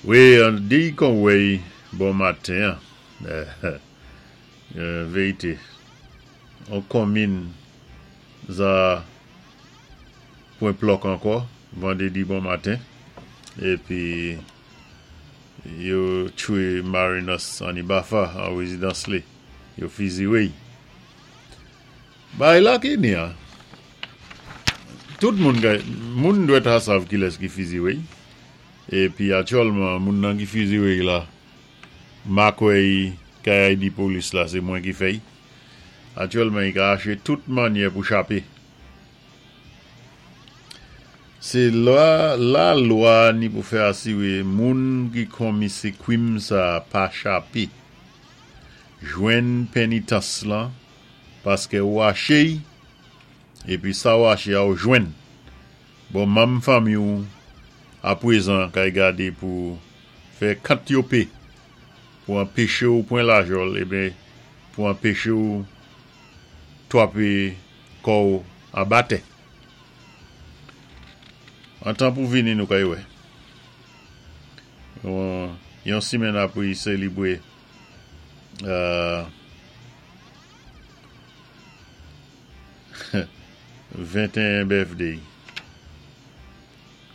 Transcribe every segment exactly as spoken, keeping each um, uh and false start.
Wi, di kon wèy bon maten, vérité. On konmin za pwan plòk ankò, vandédi bon maten, épi yo tchwé Marinus Anibafa an wézidans li, yo fiziwé-y. Bay la ki ni an, tout moun kay, moun dwèt a sav ki lès ki fiziwé-y, épi aktyèlman moun nan ki fiziwé-y la, makwèy kay di polis la, sé mwen ki fè-y. Aktyèlman, i ka aché tout mannyè pou chapé. Sé la, la lwa ni pou fè asiwé moun ki konmi sé kwim sa pa chapé. Jwenn pénitans lan, paské ou aché-y, épi sa ou aché a ou jwenn. Bon, manm fanmi ou apwézan kay gadé pou fè kant yo pé, pou anpéché ou pwan lajòl, ében pou anpéché ou twapé kò anba tè. An tan pou vini nou kay wè. Yon simenn apwé sélébwé euh, venteyen birthday.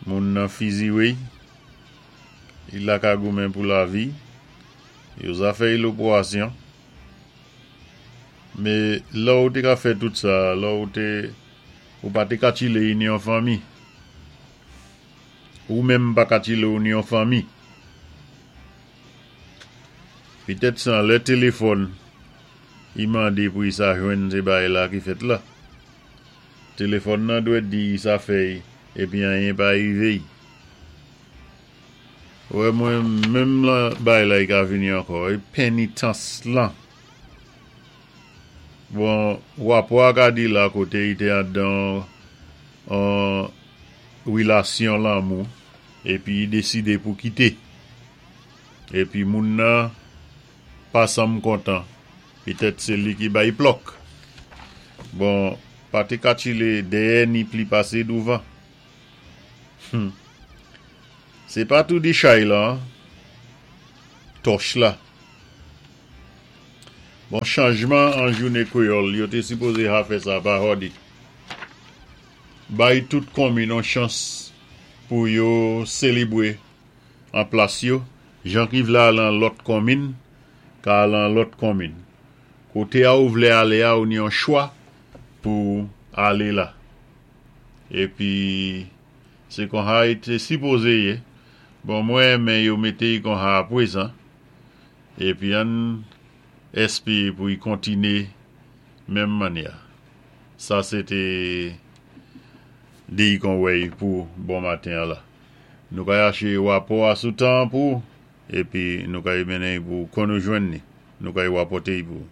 Moun nan fiziwé, i la ka goumen pou lavi, yo za fè lopwasyon. Mé lè ou té ka fè tout sa, lè ou té, ou pa té ka tchilé ni yon fanmi. Ou menm pa ka tchilé ou ni yon fanmi. Pitèt san lè téléfòn, i mandé pou i sa jwenn sé bay la ki fèt la. Téléfòn nan dwé di sa fèy, épi anyen pa rivé. Wè mwen menm la bay la i ka vini ankò, é pénitans lan. Bon, wapò a ka di la koté i té andan an wilasyon lanmou, épi i désidé pou kité. Épi moun nan pa sanm kontan, pitèt sé li ki bay plòk. Bon, pa té ka tchilé dèyè ni pli pasé douvan. Hmm. Sé pa tou di chay la, tòch la. Bon, chanjman an jouné kwéyòl, yo té sipozé ha fè sa pa hòdi. Bay tout konmin an chans pou yo sélébwé an plas yo, jan ki vlé al an lòt konmin, ka al an lòt konmin. Koté a ou vlé alé a ou ni an chwa pou alé la. Épi, sé kon ha i té sipozé yé. Bon, mwen men yo mété i kon ha apwézan. Épi ann èspéwé pou i kontiné menm mannyè. Sa sé té di kon wèy pou bon maten la. Nou kay aché wapò a sou tan pou, épi nou kay mennen pou kon nou jwenn ni. Nou kay wapòté pou.